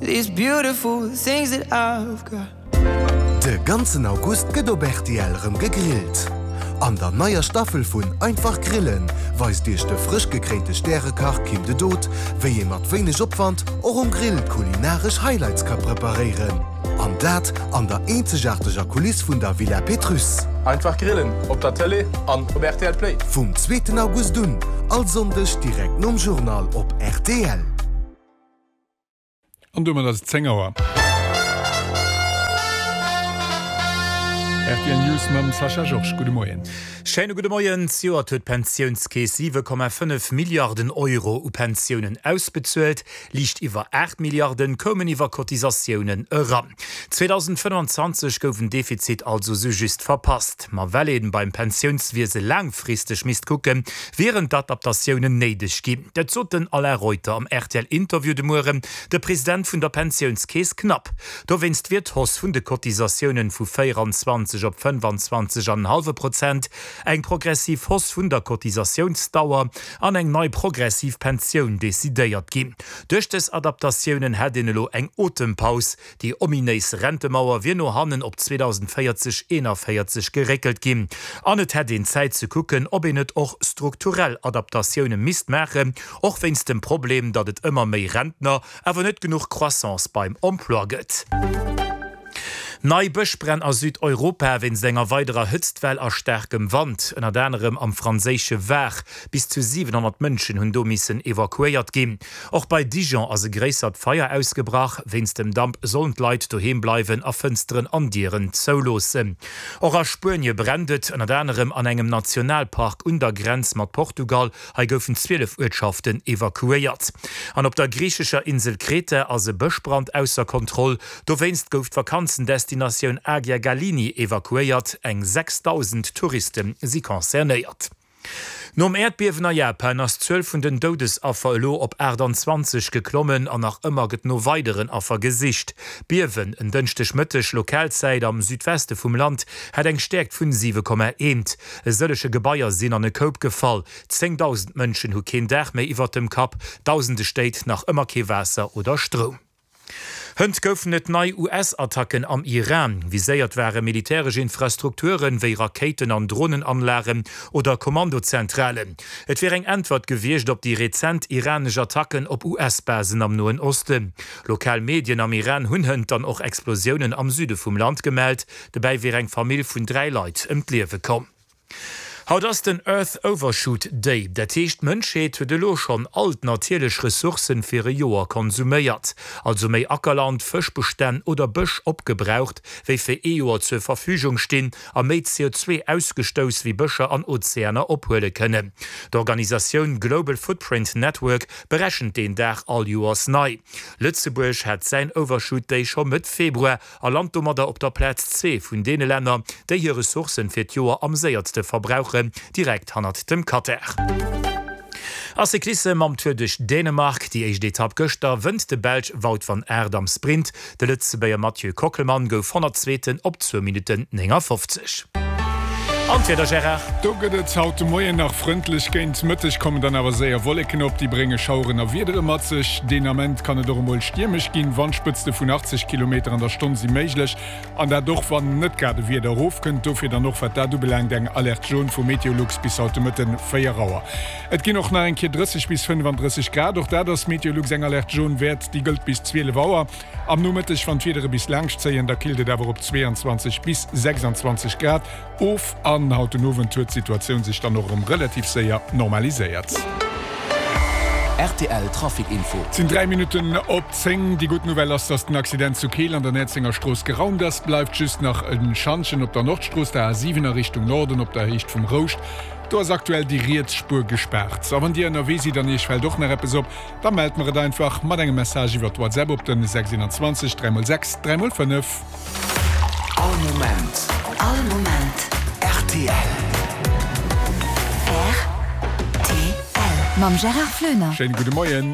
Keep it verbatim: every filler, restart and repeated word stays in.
These beautiful things that I've got. De ganzen August gëtt op rtl rëm gegrillt. An der neier Staffel vun Einfach Grillen weist Iech de frësch gekréinte Stärekach Kim de Dood, wéi ee mat wéineg Opwand och um Grill kulinaresch Highlights ka preparéieren. An dat an der eenzegaarteger Kuliss vun der Villa Pétrusse. Einfach Grillen op der Tëlee an op rtl Play. Vum zweeten August un, all Sonndeg direkt nom Journal op rtl. An domat ass et zéng Auer. Rtl News mam Sascha Georges. Gudde Moien. Schéine gudde Moien. Zejoert huet d'Pensiounskeess siwe Komma fënnef Milliarden Euro u Pensiounen ausbezuelt. Liicht iwwer aacht Milliarden koumen iwwer Cotisatiounen eran. zweedausendfënnwanzwanzeg gouf en Defizit also sou just verpasst. Ma well ee beim Pensiounswiese laangfristeg misst kucken, wieren d'Adaptatiounen néideg ginn. Dat sot den Alain Reuter am RTL-Interview de Mueren, de President vun der Pensiounskeess Knapp. Dowéinst wier d'Hausse vun de Cotisatiounen vu véieranzwanzeg op fënnefanzwanzeg an en hallwe Prozent, eng progressiv Hausse vun der Cotisatiounsdauer an eng nei progressiv Pensioun decidéiert ginn. Duerch dës Adaptatiounen hätt een elo eng Otempaus. Déi ominéis Rentemauer wier no hannen op zweedausendvéierzeg eenavéierzeg geréckelt ginn an et hätt een Zäit ze kucken, ob een net och strukturell Adaptatioune misst maachen, och wéinst dem Problem, datt et ëmmer méi Rentner, awer net genuch Croissance beim Emploi gëtt. Nei Bëschbränn a Südeuropa wéinst enger weiderer Hëtztwell a staarkem Wand, ënnert anerem am franséische Var. Bis zu siwenhonnert Mënschen hunn do missen evakuéiert ginn. Och bei Dijon ass e gréissert Feier ausgebrach. Wéinst dem Damp sollen d'Leit doheem bleiwen a Fënsteren an Dieren zouloossen. Och a Spuenie brennt et, ënnert anerem an engem Nationalpark un der Grenz mat Portugal. Hei goufen zwielef Uertschaften evakuéiert. An op der griichescher Insel Kreta ass e Bëschbrand ausser Kontroll. Dowéinst gouf d'Vakanzendestinatioun Agia Galini evakuéiert. Eng sechsdausend Touriste si concernéiert. Nom Äerdbiewen a Japan ass d'Zuel vun den Doudesaffer elo op aachtanzwanzeg geklommen an nach ëmmer gëtt no weideren Affer gesicht. D'Biewen en Dënschdegmëtteg Lokalzäit am Südweste vum Land hat eng Stäerkt vun siwe Komma eent. E sëllege Gebaier sinn an e Koup gefall. Zéngdausend Mënschen hu keen Daach méi iwwert dem Kapp, Dausende Stéit nach ëmmer kee Waasser oder Stroum. Hënt goufen et nei U S-Attacken am Iran. Viséiert ware militäresch Infrastrukturen, wéi Rakéiten an Dronenanlagen oder Kommandozentralen. Et wier eng Äntwert gewiescht op déi rezent iranesch Attacken op U S-Basen am Noen Osten. Lokal Medien am Iran hunn hënt dann och Explosiounen am Süde vum Land gemellt. Dobäi wier eng Famill vun dräi Leit ëm d'Liewe komm. Haut ass den Earth Overshoot Day, dat heescht d'Mënschheet huet elo schonn all d'natierlech Ressourcen fir e Joer konsuméiert, also méi Ackerland, Fëschbestänn oder Bësch opgebraucht, wéi fir ee Joer zur Verfügung stinn, a méi C O zwee ausgestouss, wéi Bëscher an Ozeaner ophuele kënnen. D'Organisatioun Global Footprint Network berechent deen Dag all Joers nei. Lëtzebuerg hat säin Overshoot Day scho Mëtt Februar a lant domadder op der Plaz zwee vun deene Länner, déi hir Ressourcen fir d'Joer am séiertste verbrauchen, direkt hannert dem Katar. A Cyclissem mam Tour duerch Dänemark, déi éischt Etapp gëschter, wënnt de Belsch Wout van Aert am Sprint. De Lëtzebuerger Mathieu Kockelmann gouf Honnertzweeten op zwou Minutten néngafofzeg. An d'Wieder, Gérard? Do gëtt et haut de Moien nach frëndlech, géint Mëtteg kommen dann awer séier Wolleken op, déi brénge Schaueren a Wiedere mat sech. Deen Ament kann et och emol stiermesch ginn, Wandspëtzte vun achtzeg Kilometer an der Stonn si méiglech, an dat och wann net grad e Wieder erofkënnt. Dofir dann och wat dat ubelaangt eng Alerte jaune vu Meteolux bis haut de Mëtten véier Auer. Et ginn och nach eng Kéier drësseg bis fënnefandrësseg Grad, och dat ass Meteolux eng Alerte jaune wäert, déi gëllt bis zwielef Auer. Am Nomëtteg, wann d'Wiedere bis laanscht zéien, da killt et awer op zweeanzwanzeg bis sechsanzwanzeg Grad of an haut den Owend huet d'Situatioun sech dann och erëm relativ séier normaliséiert. Rtl Trafic Info. Et sinn dräi Minutten op zéng. Déi gutt Nouvelle ass, dass den Accident zu Keel an der Näerzenger Strooss geraumt ass. Bleift just nach e Schantjen op der Nordstrooss, der A siwen a Richtung Norden op der Héicht vum Rouscht. Do ass aktuell déi riets Spuer gespaart. A wann Dir ënnerwee sidd an Iech fält och nach eppes op, da mellt mer et einfach mat engem Message iwwert WhatsApp op den sechs eent zwee dräi mol sechs dräi mol fënnef. All Moment. All Moment. R T L. R T L. Mam Gérard Flöner. Schéine gudde Moien.